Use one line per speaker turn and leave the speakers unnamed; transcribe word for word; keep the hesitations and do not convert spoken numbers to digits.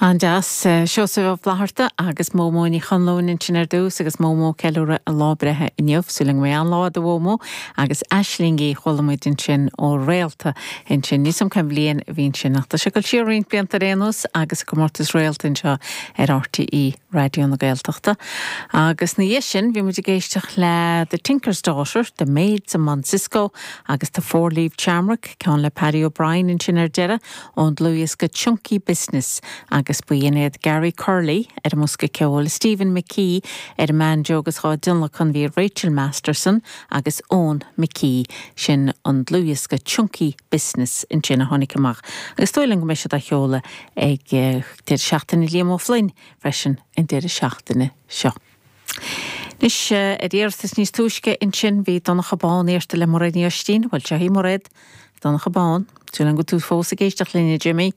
An-deas Seosamh Ó Flatharta agus Mómó Ní Chonluain ansin ar dtús agus Mómó ag ceiliúradh a lá breithe inniu súil go mbeidh an-lá do Mhómó agus Aislingí chuala muid ansin ó Réalta ansin níos am cén bhliain a bhí sin ach tá sé ag dul siar roinnt blianta ar aon nós agus comórtas Réalta anseo ar RTÉ Raidió na Gaeltachta. Agus ina dhiaidh sin bhí muid ag éisteacht le The Tinker's Daughter, The Maids of Monsisco agus The Four Leaf Shamrock ceann le Paddy O'Brien ansin ar deireadh ón dlúthdhiosca Chunky Business agus ba iad Gary Curley ar an mbosca ceoil, Stephen McKee ar an mbanjo agus dhá dtionlacan bhí Rachel Masterson agus Owen McKee sin an dlúthdhiosca Chunky Business ansin a tháinig amach. Agus dóigh liom go mbeidh siad á sheoladh ag eh, deireadh seachtaine Liam Ó Floinn freisin an deireadh seachtaine seo. Anois ar iarratas níos túisce ansin bhí Donncha Bán iarrta le Muiréad Ní Oistín, bhfuil seo hí Muiréad Donncha Bán, Tú an go tú fós ag éisteacht linne Jimmy.